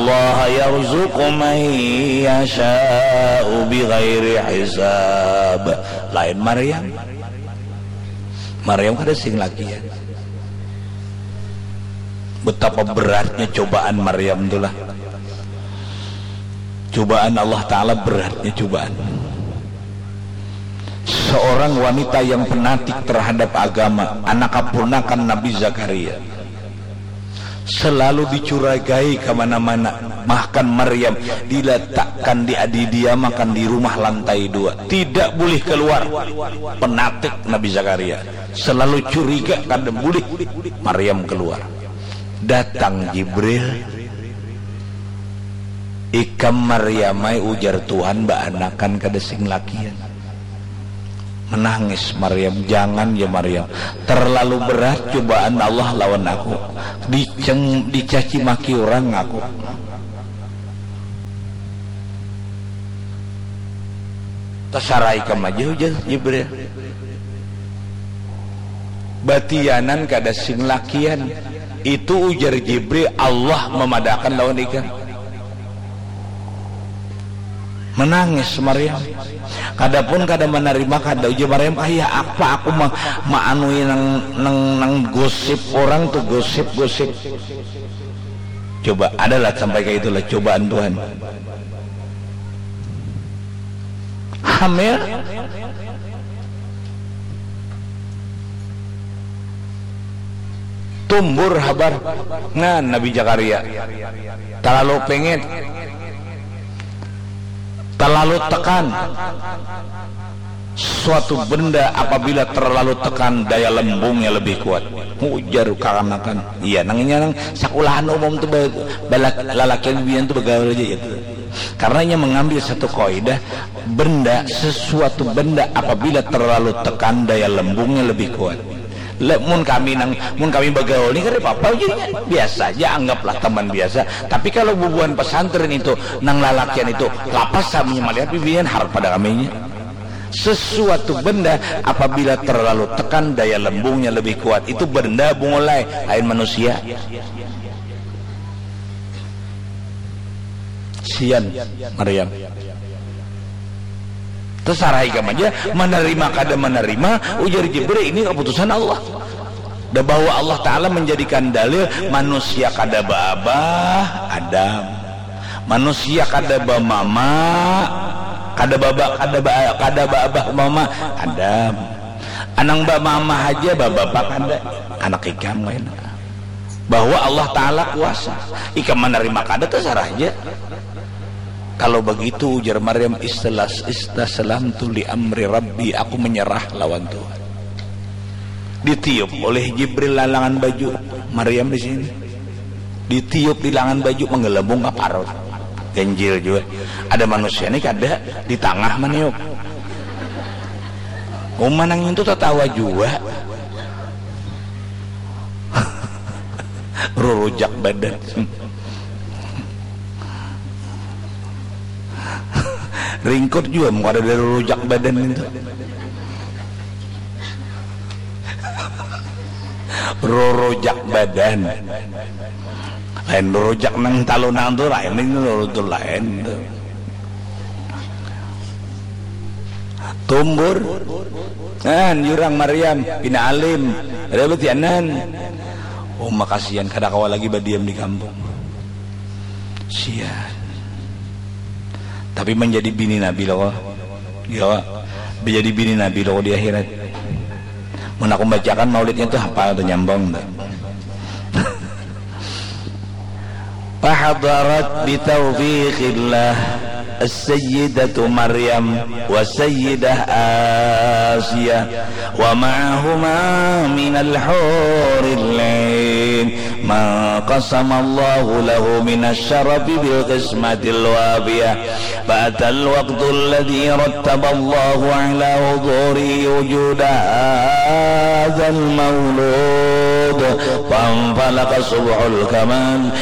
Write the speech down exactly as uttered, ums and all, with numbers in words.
Allaha yarzuqu man yasha'u bighairi hisab. Lain Maryam. Maryam kada sing lakian. Betapa beratnya cobaan Maryam tu lah. Cobaan Allah Ta'ala beratnya cobaan. Seorang wanita yang fanatik terhadap agama, anak kaponakan Nabi Zakaria. Selalu dicurigai kemana-mana. Bahkan Maryam diletakkan, diadidiamakan di rumah lantai dua. Tidak boleh keluar. Fanatik Nabi Zakaria. Selalu curiga kada boleh Maryam keluar. Datang Jibril. Ikam Maryam ai, ujar Tuhan, baanakan kada sing lakian. Menangis Maryam, jangan ya Maryam. Terlalu berat cobaan Allah lawan aku. Diceng, dicaci maki orang aku. Tasarah ikam aja ujar Jibril. Batianan kada sing lakian. Itu ujar Jibril Allah memadakan lawan ikam. Menangis Maryam. Kada pun kada menerima, kada ujar Maryam, kaya apa aku ma maanui nang nang nang gosip orang tu, gosip-gosip. Coba adalah sampai kayak itulah cobaan Tuhan. Hamil. Tumbur habar. Nah, Nabi Zakaria. Terlalu pengen. Terlalu tekan. Suatu benda apabila terlalu tekan, daya lembungnya lebih kuat. Ujar kakanakan. Iya, nang inya nang sakulahan umum tu ba- balak- lalakian bian tu bagaul aja gitu. Karena inya mengambil satu kaidah, benda, sesuatu benda apabila terlalu tekan, daya lembungnya lebih kuat. Le, mun kami nang mun kami bagaul ni kada apa-apa jadinya, biasa aja, anggaplah teman biasa. Tapi kalau bubuhan pesantren itu, nang lalakian itu, lapas kami melihat bibian harap pada kaminya. Sesuatu benda apabila terlalu tekan, daya lembungnya lebih kuat. Itu benda bungulai, lain manusia. Sian Maryam. Terserah ikam aja, menerima kada menerima, ujar Jibril, ini keputusan Allah. Dah bahwa Allah Ta'ala menjadikan dalil manusia kada baabah, Adam. Manusia kada bamama, kada baba, kada ba, kada baabah mama, Adam. Anang bamama haja, babapa kada, anak ikam kaina. Bahwa Allah Ta'ala kuasa. Ikam menerima kada, terserah aja. Kalau begitu, ujar Maryam, istilah istaslamtu li amri Rabbi, aku menyerah lawan Tuhan. Ditiup oleh Jibril lalangan baju Maryam di sini. Ditiup di langan baju, menggelembung ka parut. Ganjil jua. Ada manusia ni kada di tangah maniup. Uma nang itu tatawa jua. Rurujak badan. Ringkut jua mun kada ada rurujak badan itu. Rurujak badan. Lain rurujak nang talunan tu lain, ini ruru tu lain tu. Tumbur. Nah, jurang Maryam, pina alim. Ada betianan. Oh, makasian kada kawa lagi badiam di kampung. Sian. Tapi menjadi bini Nabi loh. Ya, menjadi bini Nabi loh di akhirat. Mun aku bacakan maulidnya tu hafal tu, nyambung tu. Fahadarat bitaufiqillah as-sayyidatu Maryam wa sayyidah Asiya wa ma'ahuma minal huril ain ma qasamallahu lahu minasy syarafi bil qismatil wafiyah. Fa atal waqtul ladzi rattaballahu ala huduri wujuda hadzal maulud. Fanfalaqa subhul kamal